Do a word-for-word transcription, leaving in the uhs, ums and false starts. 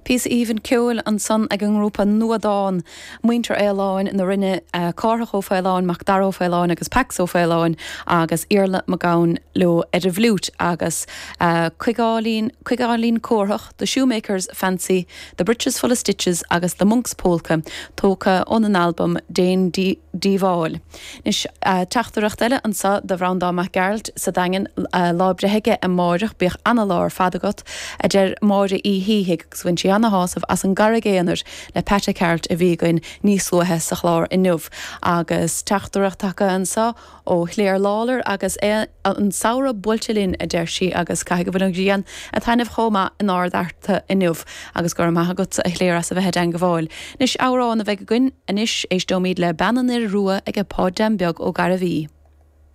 Píosa aoibhinn ceoil ansan ag an ngrúpa Nuadán, Muintir Fhaoláin na Rinne, Cárthach Ó Faoláin, Mac Dara Ó Faoláin agus Pax Ó Faoláin agus Iarla Mac Gabhann leo ar an bhfliúit agus Cuigeáilín Cuigeáilín Córthach, The Shoemaker's Fancy, The Breeches Full of Stitches agus The Monk's Polka tógtha óna n-albam Déan Díobháil. Anois teachtaireacht eile anseo do Bhreandán Mac Gearailt sa Daingean lá breithe aige amáireach, bíodh ana-lá ar fad agat, a deir Máire Uí Shíthigh agus bhain sí ana-shásamh as an gCarraig Aonair le Pat Ceart a bhí againn níos luaithe sa chlár inniu. Agus teachtaireacht tagtha anseo ó Chléir Lawlor agus é an samhradh buailte linn, a deir sí, agus caithfidh go bhfuil an ghrian ag taitneamh chomh maith in Ard Fhearta inniu agus go raibh maith agat a Chléir as a bheith i dteangabháil. Anois amhrán a bheidh againn anois éisteoimid le Bean an Fhir Rua ag Páid Dan Beag Ó Gairbhí.